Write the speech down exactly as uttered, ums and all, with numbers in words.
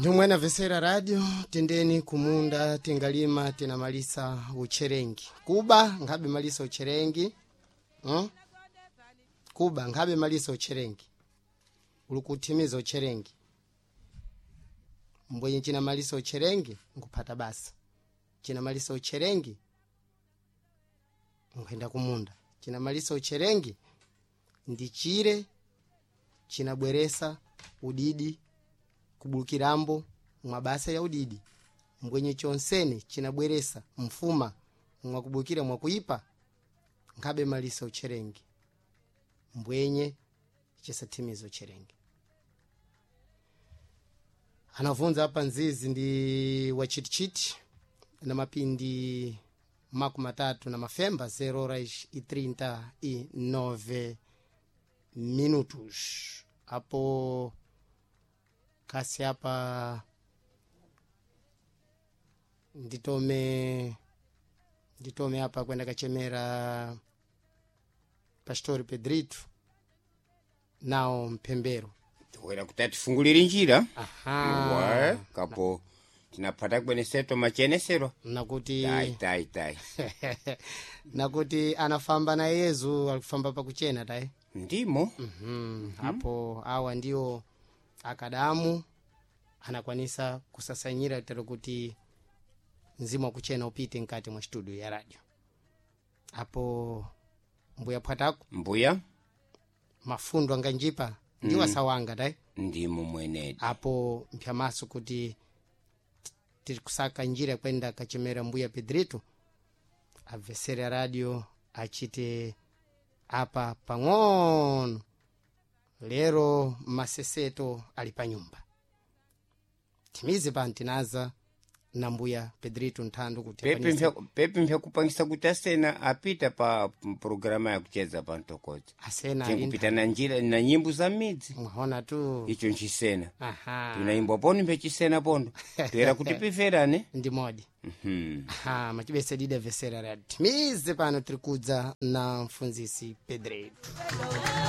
Ndomwe vesera radio tendeni kumunda tingalima tinamalisa ucherengi kuba nkhabe malisa ucherengi hmm? Kuba nkhabe malisa ucherengi uli kuthimiza ucherengi mbwenye chinamalisa ucherengi nkuphata basa chinamalisa ucherengi nkhuyenda kumunda chinamalisa ucherengi ndi chire chinabweresa udidi kubulukirambo mwa basa ya udidi mbwenye chonsene chinabweresa mfuma mwakubukira mwakuipa nkhabe malisa ucherengi mbwenye chisathimiza ucherengi anavunza apa nzizi ndi wachitichiti na mapindi makumi matatu na mafemba zero horas e trinta e nove minutos apo kasi apa nditome nditome apa kwenda kachemera pastori Pedrito nawo mphembero toera kuti atifungulire njira aha wa kapo tinaphata kweneseto machenesero nakuti tai tai tai nakuti anafamba na yezu alikufamba pakuchena tayi ndimo mm apo awa ndio akadamu anakwanisa kusasanyira tero kuti mzimu wakuchena upite nkati mwa studio ya radio apo mbuya phwatako mbuya mafundo anganjipa ndiwo asawanga tayi ndimo mwenedi apo mphyamaso kuti tiri kusaka njira kwenda kachemera mbuya Pedrito abvesere radio achite apa pang'ono lero maseseto ali pa nyumba timize pano tinaza na mbuya Pedrito nthando kuti pepi akwanise- mpya- pepi mpyakupangisa kuti asena apita pa programa yakucheza pa mtokoza asena ali tinkupita na njira na nyimbo za midzi mwaona tu icho nchisena aha tunaimbwa pono mpyachisena pondo toera kuti piverane ndi modi Mhm. aha machibese dida vesera radio timize pano tiri kudza na mfunzisi Pedrito.